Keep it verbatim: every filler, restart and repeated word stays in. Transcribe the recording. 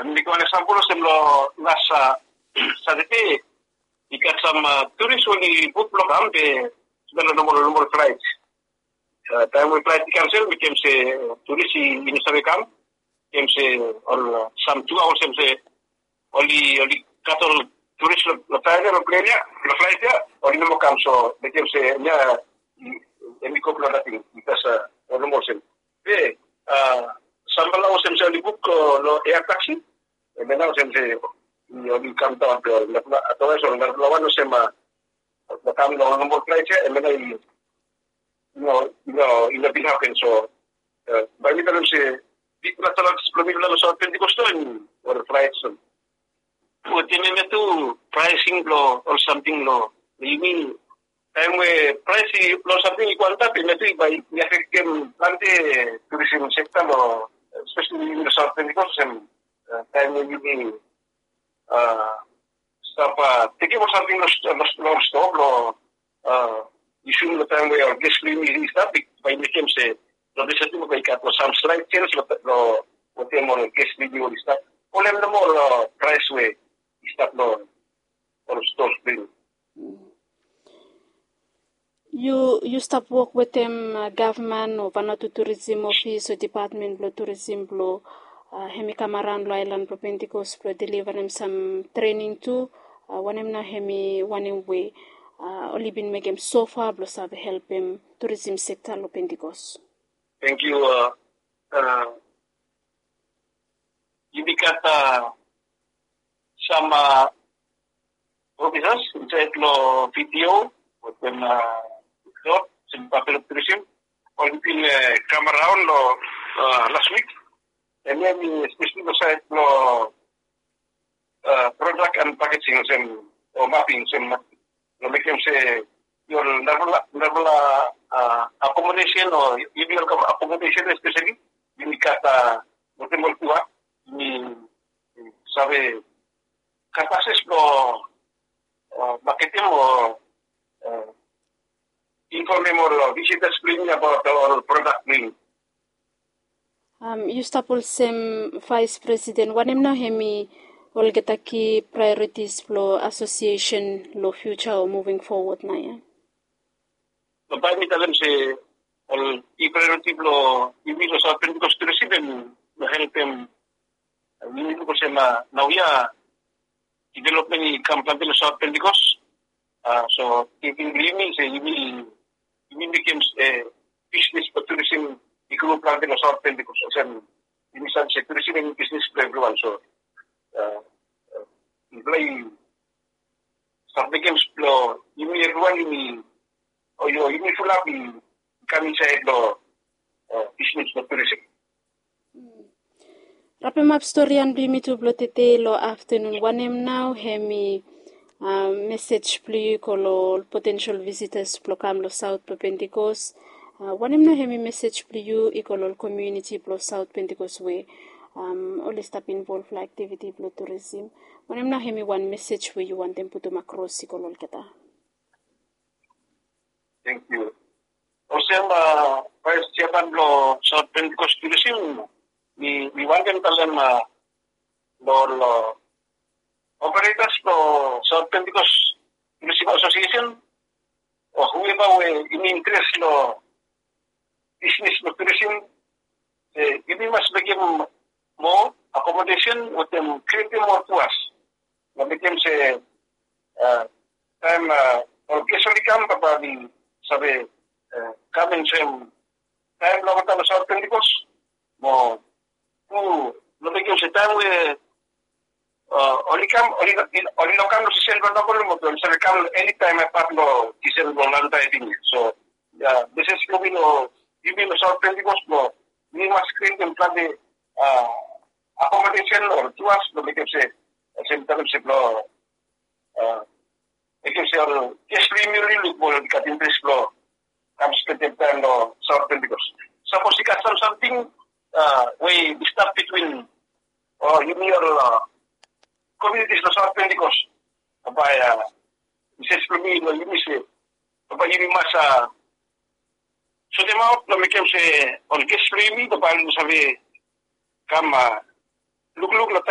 Mekem wan eksampol olsem long las Satade i gat sam turis we oli buk blong kam be i stap long normal normal flaet. Taem we flaet i kansel mekem se turis i no save kam. Mekem se ol sam tu aoa olsem se oli oli gat ol turis long flaet ya long plen ya long flaet ya oli no moa kam so mekem se em ya em i go blong nating bikas ol no moa olsem. Be samfala olsem se oli buk long ea taksi. Em ya nao olsem se oli kam daon be ol narafala otherwise ol narafala wan olsem a kam long normal flaet ya em ya nao i no i no i no bin hapen so bae mi talem se bikpela challenges blong mipela long South Pentecost nao em ol flaet so. Wetem em ya tu praesing blong ol samting long yumi taem we praes blong ol samting i go antap em ya tu bae i afektem plante turism sekta long espeseli yumi long South Pentecost olsem taem we yumi stap tekem ol samting long ol stoa blong yusum long taem we ol ges blong yumi i stap bae i mekem se long disaipel bae i gat long sam slaet sens long wetem ol ges blong yumi oli stap. Ol em nomo ol praes we i stap long ol stoa blong yumi. Yu yu stap wok wetem gavman o Vanuatu Turism Ofis o dipatmen blong turism blong hem i kam araon long aelan blong Pentikos blong delivarem sam trening tu. Wanem nao hem i wanem we oli bin mekem sofa blong save helpem turism sekta long Pentikos? Thank you. Yumi gat sam ofisas insaed long video wetem Lord sem Buffalo Tourism oli bin kam araon long las wik. Em ya mi espeseli long saed long product and packaging olsem o mapping olsem long mekem se ol narafala narafala accommodation o yumi ol accommodation espeseli yumi gat wetem ol tua yumi save gat akses blong maketem o infomem ol visitas blong yumi abaot ol product blong yumi. Yu stap olsem vaes presiden wanem nao hem i olgeta ki praeoritis blong asosiesen long fiuja o muving fowod nao ya? Bae mi talem se ol i praeoriti blong yumi long Saot Pentikos Turism em long helpem yumi luk olsem naoia divelopmen i kam plante long Saot Pentikos. So tingting blong yumi se yumi yumi mekem bisnis blong turisim i gro plante long Saot Pentikos olsem yumi save se turisim em i bisnis blong evriwan. So mipela i stap mekem blong yumi evriwan yumi o yumi fulap i kam insaed long bisnis blong turisim. Rapemap storian blong yumi tu blong tete long aftanun wanem nao hem i mesej blong yu i go long ol potensel visitas blong kam long Saot blong Pentikos? Wanem nao hem i mesej blong yu i go long ol komuniti blong Saot Pentikos we oli stap involv long aktiviti blong turisim? Wanem nao hem i wan mesej we yu wantem putum akros i go long olgeta? Thank you. Olsem vaes jeaman blong Saot Pentikos Turisim, mi wantem talem long ol operetas blong Saot Pentikos Turisim Asosiesen o hueva we yumi interes long bisnis blong turisim, yumi mas mekem moa akomodesen wetem krietem moa tuas. Na mekem se taem ol ges oli kam bae oli save kam and spend taem long olgeta long Saot Pentikos. Mo tu long mekem se taem we oli kam oli no kam long sisen blong nomo be oli save kam long eni taem apat long sisen blong Lanta evini. So ya mesej blong mi long yumi long Saot Pentikos blong yumi mas krietem plante akomodesen o tuas blong mekem se olsem talem se blong mekem se ol ges blong yumi oli luk mo oli gat interes blong kam spendem taem long Saot Pentikos. Sapos i gat sam samting we i stap bitwin o yumi ol komunitis long Saot Pentikos bae mesej blong mi long yumi se bae yumi mas sotemaot long mekem se ol ges blong yumi bae oli save kam lukluk long taem